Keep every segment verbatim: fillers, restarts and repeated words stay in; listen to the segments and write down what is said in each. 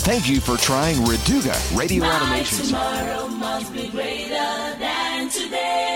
Thank you for trying Reduga Radio Automation. Tomorrow must be greater than today.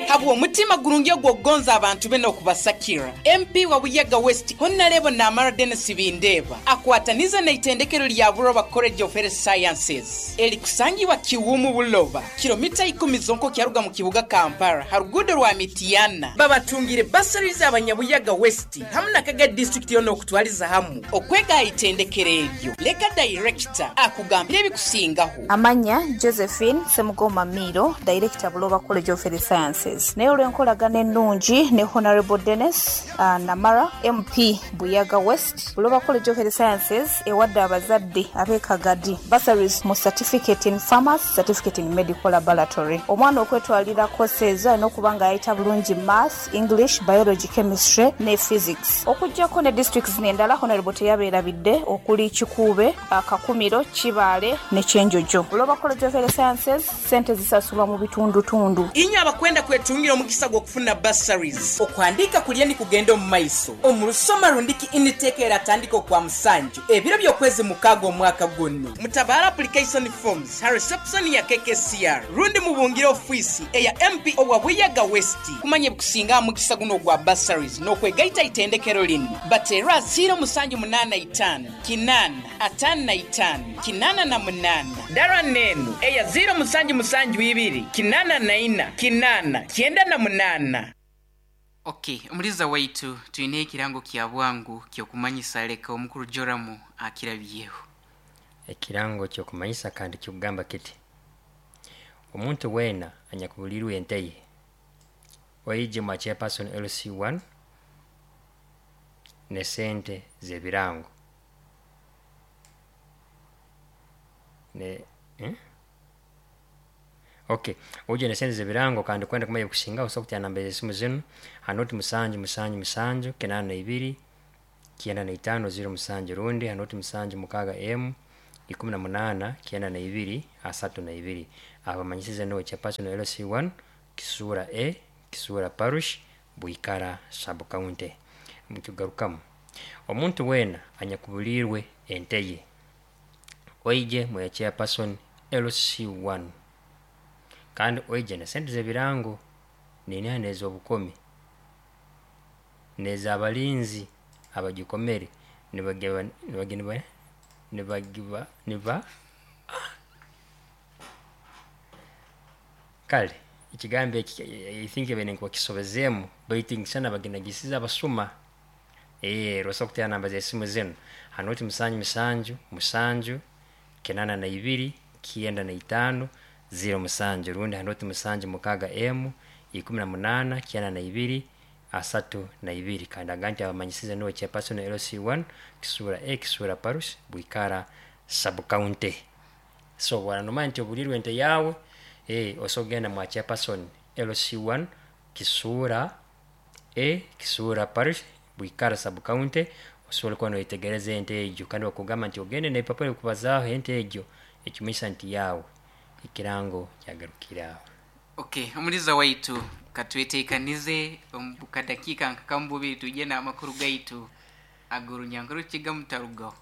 Habwa omutima gurungi ogw'okugonza abantu be n'okubasakira, M P wa Buyaga West, Honorable Namara Denis Bindeeba, akwataniza n'eitendekero lya Buloba College of Health Sciences erikusangibwa Kiwumu Buloba, kilomita ikumi zonka kyaruga mu kibuga Kampala, ha ruguudo rwa Mityana. Babatungire bursaries abanyabuyaga West hamu na Kaga District yona okutwaliza hamu okwega ha itendekero eryo. Leka director akugambire ebikusingaho. Amanya Josephine Semugoma Miiro, Director, Buloba College of Health Sciences. Naye olw'enkolagana ennungi ne Honorable Dennis uh, Namara, M P Buyaga West, Buloba College of Health Sciences ewadde abazadde ab'e Kagadi bursaries mu certificate in pharmacy, certificate in medical laboratory. Omwana okwetwalira course ezo alina okuba nga yayita bulungi math, English, biology, chemistry ne physics. Okuggyako ne districts zino endala, Honorable teyabeerabidde, okuli Kikuube, Kakumiro, Kibaale ne Kyenjojo. Buloba College of Health Sciences, sente zisasulwa mu bitundutundu. Inywe abakwenda kwetungira omukisa gw'okufuna bursaries, okuhandiika kulya ni kugenda omu maiso omu rusoma rundiki intake eratandika okwa musanju ebiro by'okwezi mukaaga omwaka guno. Mutabara application forms ha reception ya K K C R rundi mubungire ofiisi eya M P owa Buyaga West kumanya ebikusinga aha mukisa guno ogwa bursaries n'okwegaita itendekero lino. Batera ziro musanju munaana itaano kinaana ataano na itaano kinaana na munaana, dara nenu eya ziro musanju musanju ibiri kinaana na ina kinaana kyenda na munaana. Okay, omuliza waitu, twine ekirango kya bwangu kyokumanyisa, leka omukuru Joramu akirabyeho. Ekirango kyokumanyisa kandi kikugamba kiti: omuntu weena anyakubulirwe ente ye, oije mwa chairperson L C one ne sente z'ebirango ne eh? Okay, uje ne sente z'ebirango. Kandi kwenda kumanya kusinga, osobola kutya namba z'esimu zinu: hanoti musanju musanju musanju kinana na ibiri kyenda na itaano ziro musanju, rundi hanoti musanju mukaaga emu ikumi na munaana kyenda na ibiri asatu na ibiri. Abamanyisize niwe chairperson L C one, Kisura A, Kisura Parish, Bwikara Sub County. Mukigarukamu: omuntu weena anyakubulirwe ente ye, oije mwe chairperson L C one, kandi oije ne sente z'ebirango niniha n'ez'obukomi n'ez'abalinzi abagikomere nibageba nibagiba nibagiba niba. Kale ekigambo eki, I think ebene nkuba kisobezeemu, baitu ngisana baginagisize abasuma. Eh, rosa kutera namba z'esimu zinu: hanoti musanju musanju musanju kinana na ibiri kyenda na itaano ziro musanju, rundi hanoti musanju mukaaga emu ikumi na munaana kyenda na ibiri asatu na ibiri. Kandi aga nti abamanyisize niwe chairperson L C one, Kisura A, Kisura Parish, Bwikara Sub County. So bwaranoma nti obulirwe ente yawe, eh, osobola kugenda mwa chairperson L C one, Kisura A, Kisura Parish, Bwikara Sub County, osobola kuba noyetegereza ente egyo. Kandi bakugamba nti ogende n'ebipapura ebikubazaaho ente egyo, ekimanyisa nti yawe. Ekirango kyagarukire aho. Okay, omuliza waitu, katwetekanize omu kadakiika nka kamububiri tujye n'amakuru gaitu ag'orunyankore kiga mutarugaho.